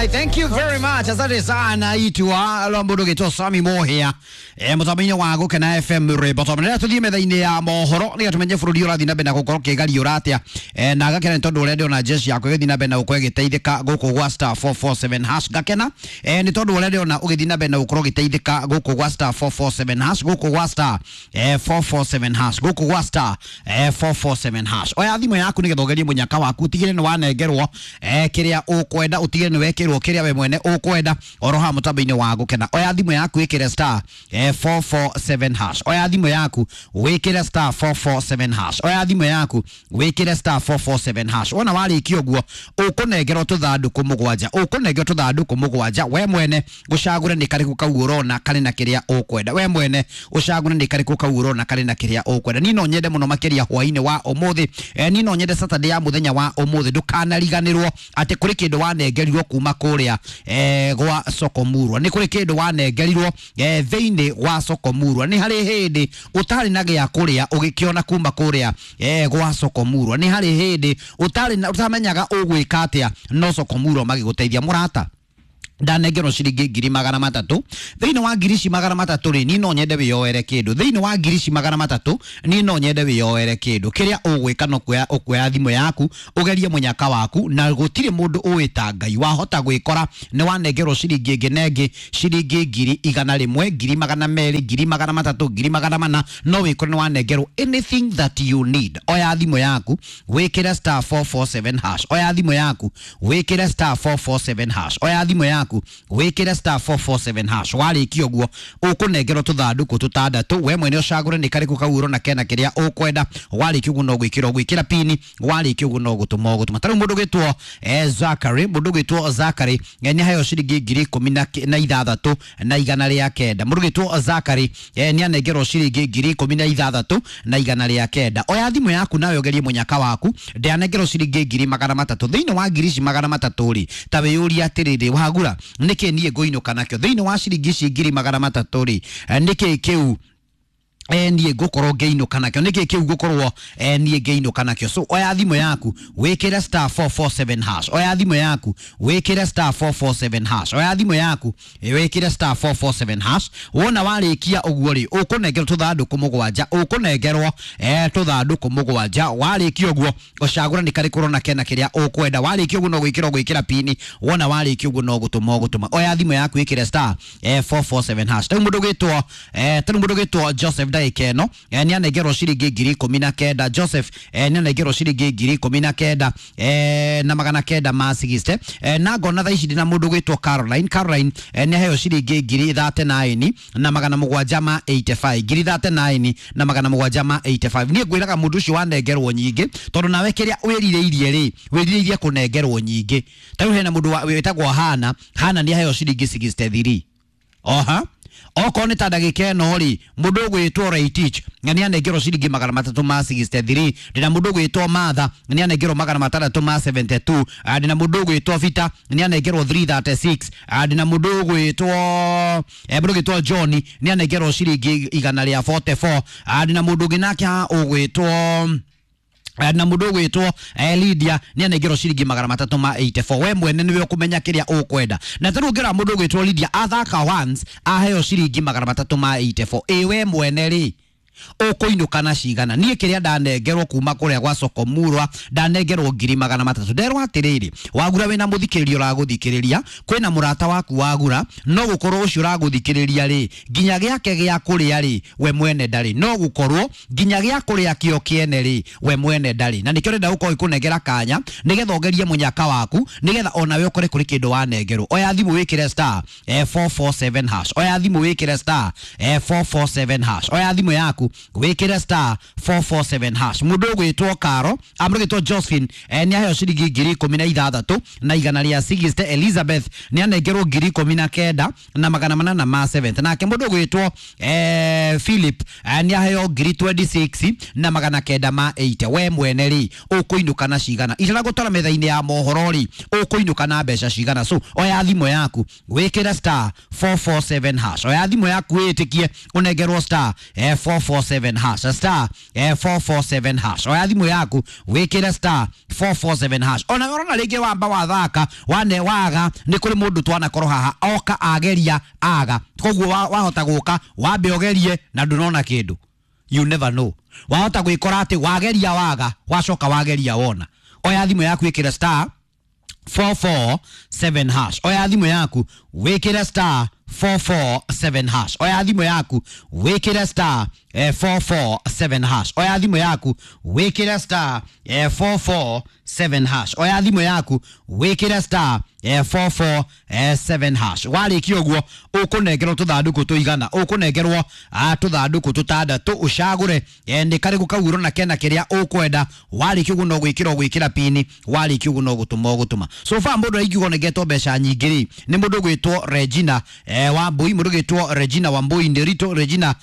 Alright, thank you very much. Asante sana itwa lwambo gitwo Sami Mohia. Mutambo-inĩ wa Gũkena FM rwĩmbo tondũ rĩrĩa tũthiĩ metha-inĩ ya mohoro nĩgetha tũmenye bũrũri ũrathiĩ na mbere na gũkorwo ũkĩgariũra atĩa. Na ngakena nĩ tondũ ũrĩa ndĩrona jeshi yakwa ĩgĩthiĩ na mbere na gũkorwo ĩgĩteithĩka gũkũ gwa star 447 hash. Ngakena nĩ tondũ ũrĩa ndĩrona ũgĩthiĩ na mbere na gũkorwo ũgĩteithĩka gũkũ gwa star 447 hash, gũkũ gwa star 447 hash, gũkũ gwa star 447 hash. Oya thimũ yaku nĩgetha ũgerie mũnyaka waku, ũtigĩrĩre nĩ wanengerwo kĩrĩa ũkwenda, ũtigĩrĩre nĩ wekĩrwo kĩrĩa we mwene ũkwenda oro haha mũtambo-inĩ wa Gũkena. Oya thimũ yaku ĩkĩre star 447 hash. Oya thimũ yaku wĩkĩre star 447 hash. Oya thimũ yaku wĩkĩre star 447 hash. Wona warĩkia ũguo ũkũnengerwo tũthandũkũ mũgwanja, ũkũnengerwo tũthandũkũ mũgwanja, we mwene ũcagũre nĩ karĩkũ kau ũrona karĩ na kĩrĩa ũkwenda. We mwene ũcagũre nĩ karĩkũ kau ũrona karĩ na kĩrĩa ũkwenda. Niĩ no nyende mũno makĩria hwaĩ-inĩ wa ũmũthĩ, niĩ no nyende Saturday ya mũthenya wa ũmũthĩ ndũkanariganĩrwo atĩ kũrĩ kĩndũ wanengerirwo kuma kũrĩa gwa Soko Murwa. Nĩ kũrĩ kĩndũ wanengerirwo thĩinĩ wa Soko Murwa. Nĩ harĩ hĩndĩ ũtarĩ na gĩa kũrĩa ũgĩkĩona kuma kũrĩa gwa Soko Murwa. Nĩ harĩ hĩndĩ ũtarĩ na ũtamenyaga ũgwĩka atĩa no Soko Murwa magĩgũteithia. Mũrata, ndanengerwo ciringi 300,000. Thĩinĩ wa ngiri ici 300 rĩ, niĩ no nyende wĩyoere kĩndũ. Thĩinĩ wa ngiri ici 300 niĩ no nyende wĩyoere kĩndũ. Kĩrĩa ũgwĩka no kuoya ũkuoya thimũ yaku ũgerie mũnyaka waku, na gũtirĩ mũndũ ũĩ ta Ngai. Wahota gwĩkora nĩ wanengerwo ciringi ĩngĩ na ĩngĩ, ciringi 100,000, 200,000, 300,000, 400,000, no wĩkore nĩ wanengerwo anything that you need. Oya thimũ yaku wĩkĩre star 447 hash. Oya thimũ yaku wĩkĩre star 447 hash. Oya thimũ yaku wĩkĩre star 447 hash. Warĩkia ũguo ũkũnengerwo tũthandũkũ tũtandatũ, we mwene ũcagũre nĩ karĩkũ kau ũrona kena kĩrĩa ũkwenda. Warĩkia ũguo no gwĩkĩra ũgwĩkĩra pini, warĩkia ũguo no gũtũma ũgũtũma. Ta rĩu mũndũ ũgwĩtwo Zachary, mũndũ ũgwĩtwo Zachary nĩ aheo ciringi 16,900. Mũndũ ũgwĩtwo Zachary nĩ anengerwo ciringi 16,900. Oya thimũ yaku nawe ũgerie mũnyaka waku. Ndanengerwo ciringi 300,000. Thĩinĩ wa ngiri ici 300 rĩ, ta wĩyũrie atĩrĩrĩ, wagura nĩkĩ niĩ ngũinũka nakĩo? Thĩinĩ wa ciringi ici 300,000 rĩ, nĩkĩ kĩu niĩ ngũkorwo ngĩinũka nakĩo? Nĩkĩ kĩu ngũkorwo niĩ ngĩinũka nakĩo? So oya thimũ yaku wĩkĩre star 447 hash. Oya thimũ yaku wĩkĩre star 447 hash. Oya thimũ yaku wĩkĩre star 447 hash. Wona warĩkia ũguo rĩ, ũkũnengerwo tũthandũkũ mũgwanja, ũkũnengerwo tũthandũkũ mũgwanja. Warĩkia ũguo ũcagũre nĩ karĩkũ ũrona kena kĩrĩa ũkwenda. Warĩkia ũguo no gwĩkĩra ũgwĩkĩra pini. Wona warĩkia ũguo no gũtũma ũgũtũma. Oya thimũ yaku wĩkĩre star 447 hash. Rĩu mũndũ ũgwĩtwo tarĩu mũndũ ũgwĩtwo Joseph ndagĩka ĩno nĩ anengerwo ciringi 19,000. Joseph nĩ anengerwo ciringi 19,960 na ngona thaa ici ndĩna mũndũ ũgwĩtwo Caroline. Caroline nĩ aheo ciringi 39,785, 39,785. Niĩ ngwĩraga mũndũ ũcio wanengerwo nyingĩ, tondũ nawe kĩrĩa wĩrirĩirie rĩ, wĩrirĩirie kũnengerwo nyingĩ. Ta rĩu hena mũndũ wĩtagwo Hana. Hana nĩ aheo ciringi 63. Oha okorwo nĩ ta ndagĩka ĩno rĩ, mũndũ ũgwĩtwo Raitich nĩ anengerwo ciringi 363. Ndĩna mũndũ ũgwĩtwo Martha nĩ anengerwo 672. Ndĩna mũndũ ũgwĩtwo Vita nĩ anengerwo 336. Ndĩna mũndũ ũgwĩtwo mũndũ ũgwĩtwo John nĩ anengerwo ciringi 144. Ndĩna mũndũ ũngĩ nake ũgwĩtwo na mũndũ ũgwĩtwo Lydia nĩ anengerwo ciringi 384. We mwene nĩwe ũkũmenya kĩrĩa ũkwenda. Na tarĩu ũngĩrora mũndũ ũgwĩtwo Lydia athaka once aheo ciringi 384. Ĩ we mwene rĩ, ũkũinũka na cigana? Niĩ kĩrĩa ndanengerwo kuma kũrĩa gwa Soko Murwa, ndanengerwo 300,000. Nderwo atĩrĩrĩ, wagura wĩna mũthikĩrĩria ũragũthikĩrĩria, kwĩna mũrata waku wagura, no gũkorwo ũcio ũragũthikĩrĩria rĩ, nginya gĩake gĩa kũrĩa rĩ, we mwene ndarĩ. No gũkorwo nginya gĩa kũrĩa kĩo kĩene rĩ, we mwene ndarĩ. Na nĩkĩo ndĩrenda gũkorwo ikũnengera kanya nĩgetha ũgerie mũnyaka waku, nĩgetha onawe ũkore kũrĩ kĩndũ wanengerwo. Oya thimũ wĩkĩre star 447 hash. Oya thimũ wĩkĩre star 447 hash. Oya thimũ yaku wĩkĩre star 447 hash. Mũndũ ũgwĩtwo Karo, mũndũ ũgwĩtwo Josephine nĩ aheo ciringi 16,160. Elizabeth nĩ anengerwo 19,870. Nake mũndũ ũgwĩtwo Philip nĩ aheo 26,980. We mwene rĩ, ũkũinũka na cigana? Itanagũtwara metha-inĩ ya mohoro rĩ, ũkũinũka na mbeca cigana? So oya thimũ yaku wĩkĩre star 447 hash. Oya thimũ yaku wĩtĩkie ũnengerwo star 447 447 hash, star 447 hash. Oya thimũ yaku wĩkĩre star 447 hash. Ona ũrona rĩngĩ wamba wathaka wane waga nĩ kũrĩ mũndũ twanakorwo haha oka ageria aga, koguo wahota gũka wambe ũgerie na ndũnona kĩndũ, you never know. Wahota gwĩkora atĩ wageria waga wacoka wageria wona. Oya thimũ yaku ĩkĩre star 447 hash. Oya thimũ yaku wĩkĩre star 447 hash. Oya thimũ yaku wĩkĩre star 447 hash. Oya thimũ yaku wĩkĩre star 447 hash. Oya thimũ yaku wĩkĩre star 447 hash. Warĩkia ũguo ũkũnengerwo tũthandũkũ tũigana, ũkũnengerwo tũthandũkũ tũtandatũ ũcagũre nĩ karĩkũ kau ũrona kena kĩrĩa ũkwenda. Warĩkia ũguo no gwĩkĩra ũgwĩkĩra pini, warĩkia ũguo no gũtũma ũgũtũma. So far mũndũ aingiuga ũnengetwo mbeca nyingĩ rĩ nĩ mũndũ ũgwĩtwo Regina Wambui, mũndũ ũgwĩtwo Regina Wambui Nderitu, Regina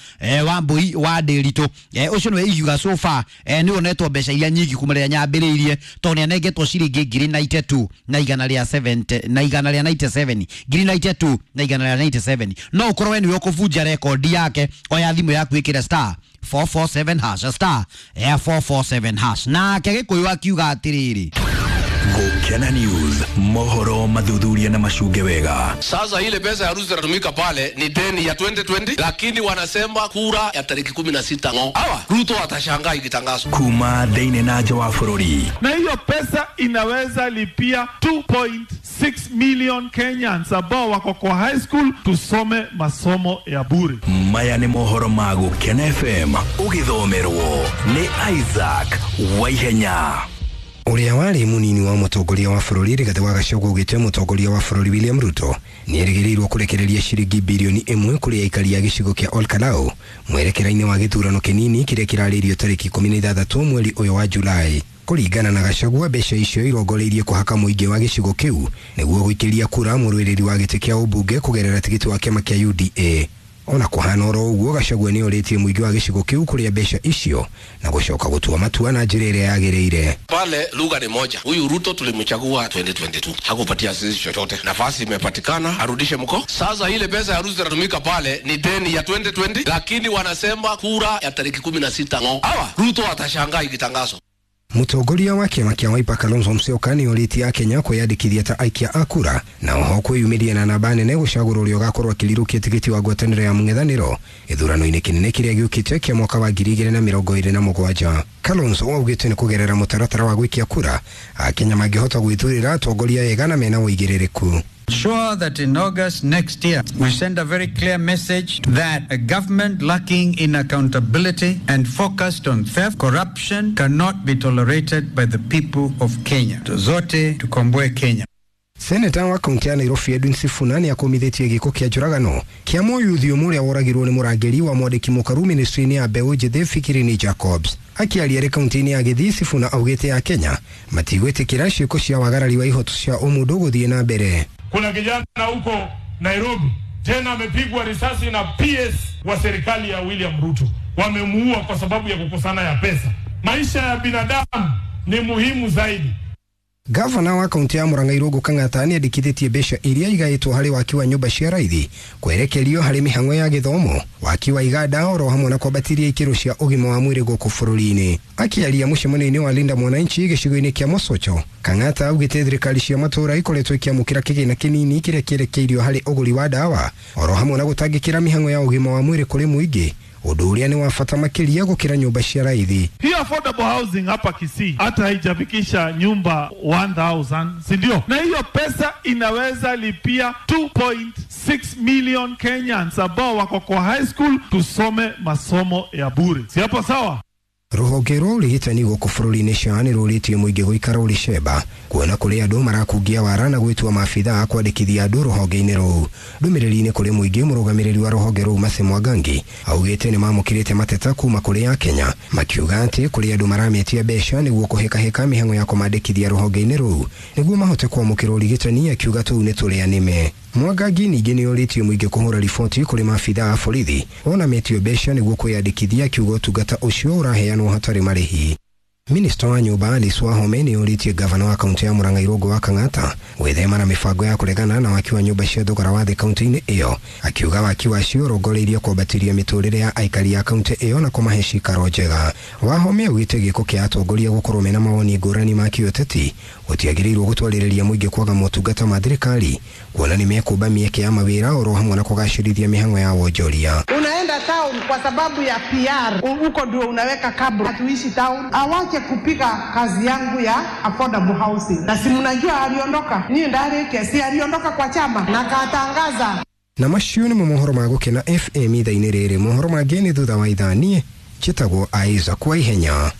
Wambui wa Nderitu, ũcio nĩwe ingiuga so far nĩwe ũnetwo mbeca iria nyingĩ kuma rĩrĩa nyambĩrĩirie, tondũ nĩanengetwo ciringi ngiri na itatu na igana rĩa 70 na igana rĩa 97, ngiri na itatu na igana rĩa 97. No ũkorwo we nĩwe ũkũbunja rekondi yake. Oya thimũ yaku ĩkĩre star 447 hash, star 447 hash. Nake Gĩkũyũ akiuga atĩrĩrĩ, Gukena News, mohoro mathuthuria na macunge wega. Sasa ile pesa ya harusi inatumika pale ni deni ya 2020, lakini wanasema kura ya tariki 16 ng'o. Hawa Ruto atashangaa ikitangazwa. Kuma thĩinĩ na nja wa bũrũri. Na hiyo pesa inaweza lipia 2.6 million Kenyans ambao wako kwa high school tusome masomo ya bure. Maya nĩ mohoro ma Gukena FM ũgĩthomerwo nĩ Isaac Waihenya. Ũrĩa warĩ mũnini wa mũtongoria wa bũrũri Rigathĩ wa Gachagua augĩte mũtongoria wa bũrũri William Ruto nĩerĩgĩrĩirwo kũrekereria ciringi birioni 1 kũrĩ aikari a gĩcigo kĩa Olkalau mwerekera-inĩ wa gĩthurano kĩnini kĩrĩa kĩrarĩirio tarĩki 16 mweri ũyũ wa Julai. Kũringana na Gachagua, mbeca icio irongoreirie kũhaka mũingĩ wa gĩcigo kĩu nĩguo gũikĩria kura mũrũĩrĩri wa gĩtĩ kĩa ũmbunge kũgerera tigiti wa kĩama kĩa UDA. Ona kũhana oro ũguo, Gachagua nĩ orĩtie mũingĩ wa gĩcigo kĩu kũrĩa mbeca icio na gũcoka gũtua matua na njĩra ĩrĩa yagĩrĩire. Pale lugha ni moja. Huyu Ruto tulimchagua 2022, hakupatia sisi chochote. Nafasi imepatikana, arudishe mko. Sasa ile pesa ya harusi inatumika pale ni deni ya 2020, lakini wanasema kura ya tariki 16 ng'o. Hawa Ruto atashangaa ikitangazwa. Mũtongoria wa kĩama kĩa Wiper Kalonzo Musyoka nĩ orĩtie akenya kwĩyandĩkithia ta aikia a kura na oho kwĩyumĩria na namba nene gũcagũra ũrĩa ũgakorwo akĩrirũkia tigiti wa ngwatanĩro ya mũng'ethanĩro gĩthurano-inĩ kĩnene kĩrĩa gĩũkĩte kĩa mwaka wa 2027. Kalonzo augĩte nĩ kũgerera mũtaratara wa gwĩkia kura akenya mangĩhota gwĩthurĩra atongoria ega na mena ũigĩrĩrĩku. Sure that in August next year we send a very clear message that a government lacking in accountability and focused on theft, corruption cannot be tolerated by the people of Kenya. Zote tukomboe Kenya. Seneta wa kaunti ya Nairobi Edwin Sifuna nĩ akũmithĩtie gĩko kĩa njũragano kĩa mũyuthi ũmwe ũrĩa woragirwo nĩ mũrangĩri wa mwandĩki mũkaru ministry-inĩ ya mbeũ njĩthĩ Fikirini Jacobs. Akĩaria arĩ kaunti-inĩ ya Gĩthii, Sifuna augĩte ya Kenya matigwĩtĩkĩra ciĩko cia wagarari wa ihoto cia ũmũndũ gũthiĩ na mbere. Kuna kijana huko Nairobi tena amepigwa risasi na PS wa serikali ya William Ruto. Wamemuua kwa sababu ya kukosana ya pesa. Maisha ya binadamu ni muhimu zaidi. Gavana wa kaunti ya Murang'a Irũngũ Kang'ata nĩandĩkithĩtie mbeca iria igaĩtwo harĩ waki wa nyũmba cia raithi kwerekerio harĩ mĩhang'o ya gĩthomo, waki wa iganda oro hamwe na kwambatĩria ikĩro cia ũgima wa mwĩrĩ gũkũ bũrũri-inĩ. Akĩaria mũcemanio-inĩ wa Linda Mwananchi gĩcigo-inĩ kĩa Mosocho, Kang'ata augĩte thirikari cia matũũra ikoretwo ikĩamũkĩra kĩgĩna kĩnini kĩrĩa kĩerekeirio harĩ ũgũri wa ndawa oro hamwe na gũtangĩkĩra mĩhang'o ya ũgima wa mwĩrĩ kũrĩ mũingĩ, ũndũ ũrĩa nĩ wa bata makĩria gũkĩra nyũmba cia raithi. Hii affordable housing hapa Kisii hata haijafikisha nyumba 1000, si ndio? Na hiyo pesa inaweza lipia 2.6 million Kenyans ambao wako kwa high school tusome masomo ya bure. Si hapo sawa? Rũhonge rwa ũrigitani gũkũ bũrũri-inĩ SHA nĩ rũrĩtie mũingĩ gũikara ũrĩ cemba kuona kũrĩ andũ marakungia wara na gwĩtua maabithaa kwandĩkithia andũ rũhonge-inĩ rũu. Ndũmĩrĩri-inĩ kũrĩ mũingĩ, mũrũgamĩrĩri wa rũhonge rũu Mercy Mwangangi augĩte nĩ mamũkĩrĩte mateta kuma kũrĩ akenya makiuga atĩ kũrĩ andũ marametia mbeca nĩguo kũhĩkahĩka mĩhang'o ya kũmandĩkithia rũhonge-inĩ rũu nĩguo mahote kwamũkĩra ũrigitani, akiuga tũu nĩ tũrĩa nĩme. Mwangangi ningĩ nĩ orĩtie mũingĩ kũhũra riboti kũrĩ maabithaa a borithi ona metio mbeca nĩguo kwĩyandĩkithia, akiuga ũtungata ũcio ũraheanwo hatarĩ marĩhi. Minista wa nyũmba Alice Wahome nĩ orĩtie gavana wa kaunti ya Murang'a Irũngũ wa Kang'ata gwĩthema na mĩbango ya kũregana na waki wa nyũmba cia thogora wa thĩ kaunti-inĩ ĩyo, akiuga waki wacio ũrongoreirie kwambatĩria mĩtũrĩre ya aikari a kaunti ĩyo na kũmahe cikaro njega. Wahome augĩte gĩko kĩa atongoria gũkorwo mena mawoni ngũrani ma kĩũteti gũtiagĩrĩirwo gũtwarĩrĩria mũingĩ kwaga motungata ma thirikari, kuona nĩ mekũmba mĩeke ya mawĩra oro hamwe na kũgacĩrithia mĩhang'o ya wonjoria. Unaenda town kwa sababu ya PR, huko ndio unaweka kabro. Hatuishi town. Awache kupiga kazi yangu ya affordable housing. Na si mnajua aliondoka, niĩ ndarĩkia, si aliondoka kwa chama na katangaza. Na macio nĩmo mohoro ma Gũkena FM ithaa-inĩ rĩrĩ. Mohoro mangĩ nĩ thutha wa ithaa. Niĩ njĩtagwo Isaac Waihenya.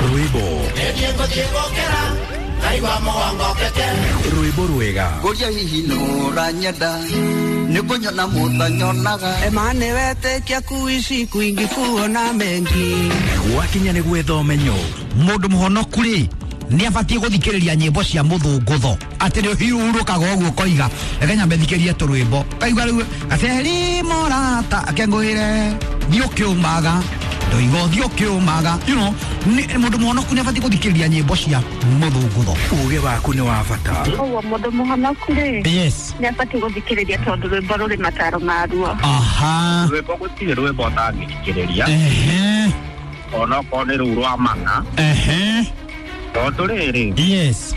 Rwĩmbo rwĩmbo rwega Ngũria hihi nũranyenda nĩkũnyona mũtanyonaga Emane wetĩkia kuishi kwingi kuona mengi gwakinya nĩ gwetha ũmenyo. Mũndũ mũhonoku rĩ nĩ abatiĩ gũthikĩrĩria nyĩmbo cia mũthũngũtho atĩ nĩ ũhurũkaga ũguo ũkoiga reke nyambe thikĩrie tũrwĩmbo kaigua rĩu gaceri morata akengũĩre thiĩ ũkĩũmaga ndoiga ũthiĩ ũkĩũmaga, you know, mũndũ mũhonoku nĩ abatiĩ gũthikĩrĩria nyĩmbo cia mũthũngũtho. Ũgĩ waku nĩ wa bata. Ũguo mũndũ mũhonoku rĩ, yes, nĩ abatiĩ gũthikĩrĩria tondũ rwĩmbo rũrĩ mataro maruo. Aha, rwĩmbo gũtirĩ rwĩmbo ũtangĩthikĩrĩria. Ehe, onokorwo nĩ rũu rwa mana. Ehe, tondũ rĩrĩ, yes,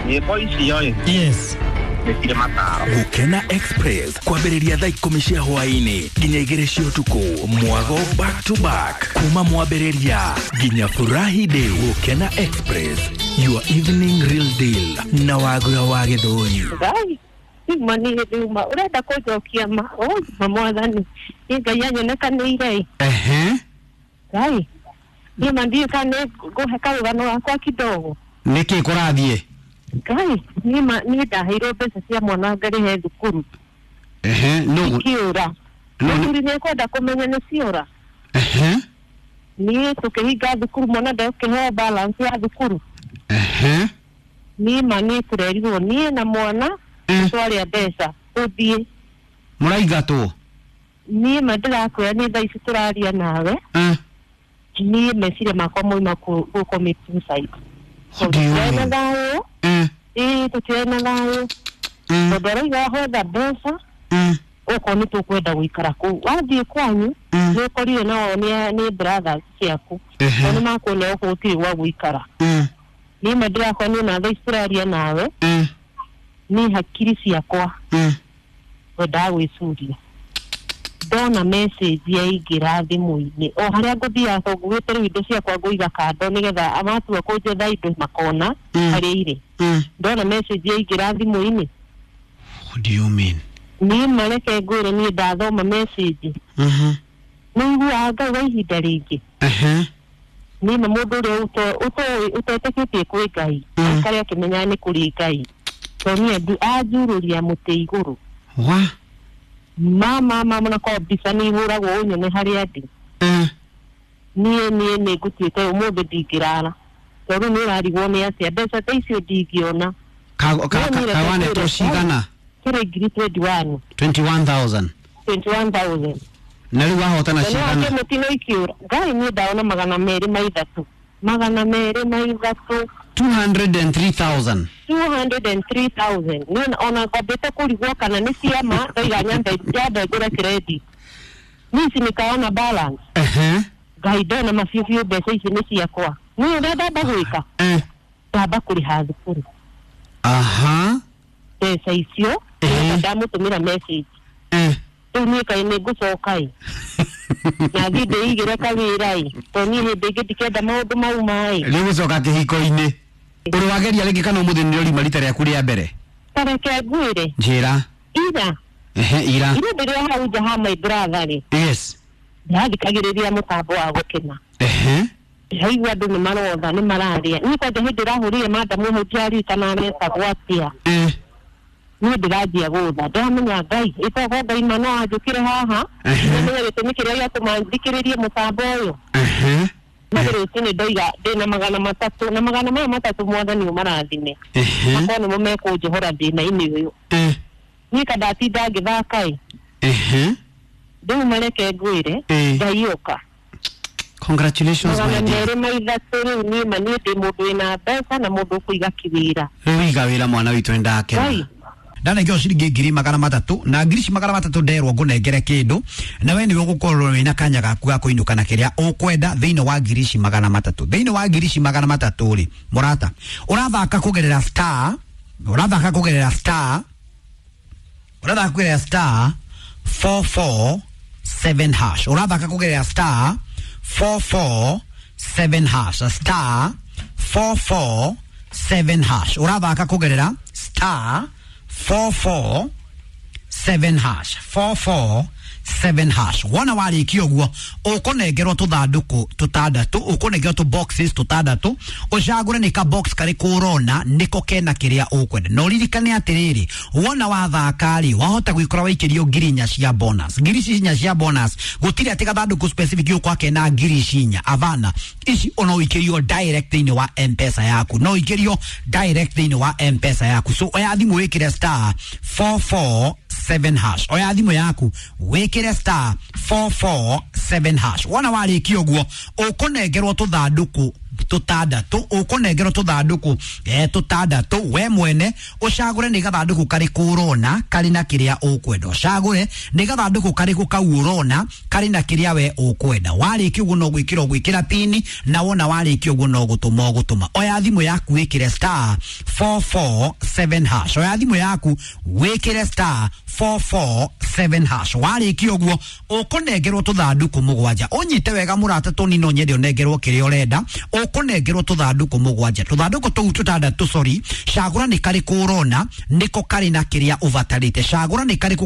nyĩmbo icio ĩ, yes, nĩ cirĩ mataro. Gũkena Express kwambĩrĩria thaa 10 cia hwaĩ-inĩ nginya 2 cia ũtukũ, mwago back to back kuma mwambĩrĩria nginya furahi day. Gũkena Express, your evening real deal na Wagura wa Gĩthũri. Ngai ima nĩ thuma ũrenda kũnjokia ma ma mwathani nĩ Ngai anyonekanĩire. Ehe, Ngai niĩ ma ndiũĩ kana nĩ ngũhe karũgano gakwa kidogo. Nĩkĩ kũrathiĩ? Ngai niĩ ma niĩ ndaheirwo mbeca cia mwana ngarĩhe thukuru. Ehe, nũ ikiũra. Mũthuri nĩ ekwenda kũmenya nĩ ciora. Ehe, niĩ tũkĩhinga thukuru mwana ndekũheo balance ya thukuru. Ehe, niĩ ma niĩ tũrerirwo niĩ na mwana twarĩa mbeca tũthiĩ. Mũraingatwo? Niĩ ma ndĩrakwĩra nĩ thaa ici tũraria nawe. Niĩ meciria makwa moima gũ commit suicide. Tũtirĩ na thayũ. Ĩĩ tũtirĩ na thayũ tondũ arauga hwetha mbeca okorwo nĩ tũkwenda gũikara kũu. Wathiĩ kwanyu nĩ ũkorire nao nĩ brothers ciaku tondũ nĩ makuona gũkũ gũtirĩ gwa gũikara. Niĩ ma ndĩrakora niĩ na thaa ici tũraria nawe niĩ hakiri ciakwa ngwendaga gwĩcuria. Ndona message yaingĩra thimũ-inĩ o harĩa ngũthiaga tondũ ngugĩte rĩu indo ciakwa ngũiga kando nĩgetha matua kũnjetha indo makona harĩa irĩ. Ndona message yaingĩra thimũ-inĩ. What do you mean? Niĩ mareke ngwĩre niĩ ndathoma message. Nĩ iguaga Ngai wa ihinda rĩngĩ. Niĩ ma mũndũ ũrĩa ũtetĩkĩtie kwĩ Ngai aikare akĩmenyaga nĩ kũrĩ Ngai tondũ niĩ anjurũria mũtĩ igũrũ. Wa? Mama mama na kwa mbica nĩ ihũragwo ũnyone harĩa ndĩ. Niĩ niĩ nĩ ngũtuĩte ũmũthĩ ndingĩrara tondũ nĩ ũrarigwo nĩ atĩa mbeca ta icio ndingĩona. Kawanetwo cigana? Kĩrĩ ngiri 21. 21,000. 21,000. Na rĩu wahotana cigana? Mũtino ikiũra Ngai niĩ ndaona 203. 203. 203,000. 203,000. Niĩ ona ngwambĩte kũrigwo kana nĩ ciama ndaiga nyambe ngũre credit. Niĩ ici nĩkaona balance. Ehe, Ngai ndona mabiũ mbeca ici nĩ ciakwa. Niĩ ũrĩa ndamba gwĩka, ndamba kũrĩha thukuru. Aha, mbeca icio ndamũtũmĩra message. Rĩu niĩ kaĩ nĩ ngũcoka ĩ na thiĩ ndĩigĩre kawĩra ĩ tondũ niĩ hĩndĩ ĩngĩ ndikenda maũndũ mau maĩ. Rĩu gũcoka kĩhiko-inĩ ũrĩ wageria rĩngĩ kana ũmũthĩ nĩ ũrima rita rĩaku rĩa mbere? Tareke ngwĩre. Njĩra. Ira. Ehe, ira. Ira ndĩrĩ hau nja ha my brother rĩ. Yes. Ndĩrathikagĩrĩria mũtambo wa Gũkena. Ehe, Ndĩraigua andũ nĩ marotha nĩ mararĩa. Niĩ kwanja hĩndĩ ĩrahũrire madamu hau ndiaririkana metagwo atĩa. Niĩ ndĩranjia gũtha ndĩramenya Ngai ĩtogo Ngai ma no anjũkĩre haha ndĩramenya gĩtũmi kĩrĩa gĩatũma thikĩrĩrie mũtambo ũyũ. Niĩ rũcinĩ ndoiga ndĩna 300 na 300 mwathani ũmarathime makorwo nĩmo mekũnjohora thĩna-inĩ ũyũ. Niĩ ka ndatinda ngĩthaka ĩ. Rĩu mareke ngwĩre Ngai ũka. Congratulations my dear. 203 rĩu niĩ ma niĩ ndĩ mũndũ wĩna mbeca na mũndũ ũkũiga kĩwĩra. Rĩu iga wĩra mwana witũ nĩndakena. Ndanengeo ciringi 300,000 na 300,000 nderwo ngũnengere kĩndũ na we nĩwe ũgũkorwo wĩna kanya gaku ga kũinũka na kĩrĩa ũkwenda thĩinĩ wa 300,000. Thĩinĩ wa 300,000 rĩ mũrata ũrathaka kũgerera star, ũrathaka kũgerera star, ũrathaka kũgerera star 447 hash, ũrathaka kũgerera star 447 hash, star 447 hash, ũrathaka kũgerera star 447 hash, 447 hash. Wona warĩkia ũguo ũkũnengerwo tũthandũkũ tũtandatũ, ũkũnengerwo tũ boxes tũtandatũ, ũcagũre nĩ ka box karĩkũ ũrona nĩko kena kĩrĩa ũkwenda. Na ũririkane atĩrĩrĩ, wona wathaka rĩ wahota gwĩkora waikĩrio 4,000 cia bonus. 4,000 cia bonus gũtirĩ atĩ gathandũkũ specific ũkwa kena 4,000 avana ici ono ũikĩrio direct thĩinĩ wa M-Pesa yaku, no ũikĩrio direct thĩinĩ wa M-Pesa yaku. So oya thimũ wĩkĩre star 447 hash, oya thimũ yaku wĩkĩre star 447 hash. Wona warĩkia ũguo ũkũnengerwo tũthandũkũ tũtandatũ, ũkũnengerwo tũthandũkũ tũtandatũ, we mwene ũcagũre nĩ gathandũkũ karĩkũ ũrona karĩ na kĩrĩa ũkwenda, ũcagũre nĩ gathandũkũ karĩkũ kau ũrona karĩ na kĩrĩa we ũkwenda. Warĩkia ũguo no gwĩkĩra ũgwĩkĩra pini, na wona warĩkia ũguo no gũtũma ũgũtũma. Oya thimũ yaku wĩkĩre star 447 hash, oya thimũ yaku wĩkĩre star 447 hash. Warĩkia ũguo ũkũnengerwo tũthandũkũ 7. Ũnyite wega mũrata tũnini, no nyende ũnengerwo kĩrĩa ũrenda. Ũkũnengerwo tũthandũkũ 7, tũthandũkũ tũu tũtandatũ, sorry, cagũra nĩ karĩkũ ũrona nĩko karĩ na kĩrĩa ũbatarĩte, cagũra nĩ karĩkũ